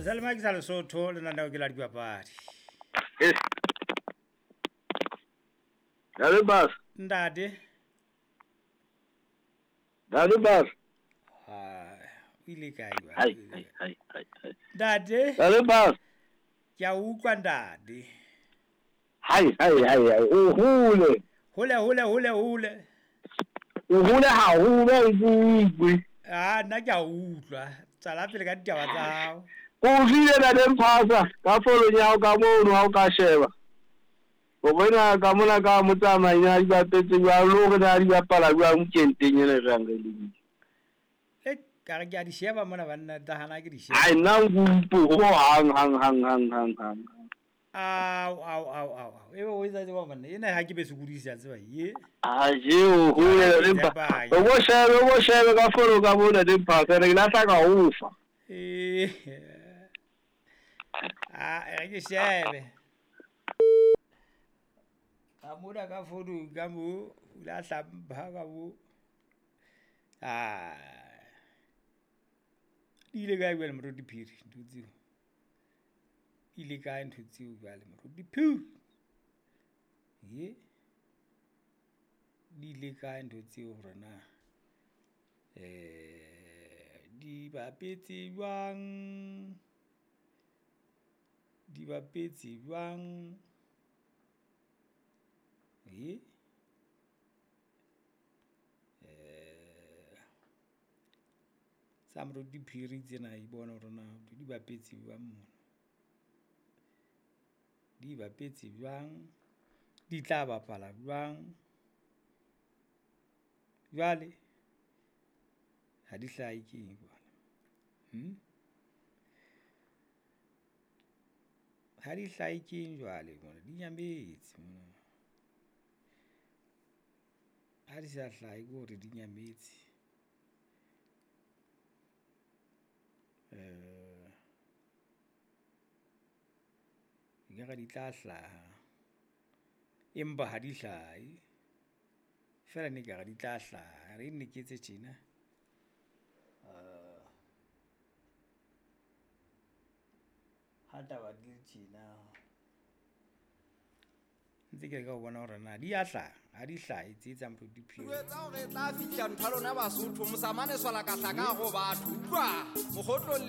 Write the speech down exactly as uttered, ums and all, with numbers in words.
Salema ke sa Lesotho lenaneo ke la dipapadi. Eh. Ntate Bas. Ntate. Ntate Bas. Ah, o ile kae ba? Hai, hai, hai, hai, hai. Ntate. Ntate Bas. Ke a utlwa ntate. Hai, hai, hai, hai. O hole. Hole, hole, hole, hole. O hole haholo o utlwe. Ah, nna ke a utlwa. Tswela pele ka ditaba tsa hao. O utlwile ntate Mphasa ka follong ya hao ka mono ha o ka sheba. O bona ka mona ka motsamai a di bapetse jwang le hore na di bapala jwang weekend-eng ena e reng re lebile. E ka re ke a di sheba mona banna nahana ke di sheba. Ai nna nkupo ho hang hang hang hang hang hang. Ao ao ao ao. Ebe o etsa tseba banna ena ha ke be sokodisa tseba ye. A je o hole le mpa. O bo shebe o bo shebe ka fono ka mona le Mphasa re lahla ka ho fa. Eh. Ah, e re ke shebe. Ka mona ka fono ka mo o lahla mpha ka mo. Ah. Di ile kae jwale Moruti Phiri ntho tseo? Ile kae ntho tseo jwale Moruti Phiri? Ye. Di ile kae ntho tseo hore na eh di bapetse jwang? Di bapetse jwang? Ye. Eh sa Moruti Phiri tsena e bona hore na di bapetse jwang mona. Di bapetse jwang? Di tla bapala jwang? Jwale ha di hlahe ke eng jwale? Hmm? Ha di hlahe ke eng jwale mona? Di nyametse mona. Ha di sa hlahe ke hore di nyametse. Eh ekare di tla hlaha empa ha di hlahe. Feela ne ekare di tla hlaha. Re nne ke etse tjena. Uh, ha taba di le tjena. Ntse ke leka ho bona hore na di a hlaha, ha di hlahe tse tsa Moruti Phiri. Jwetsa hore e tla fihla ntho ya lona Basotho, mosamane swala ka hlaka ho batho. Utlwa, mokgotlong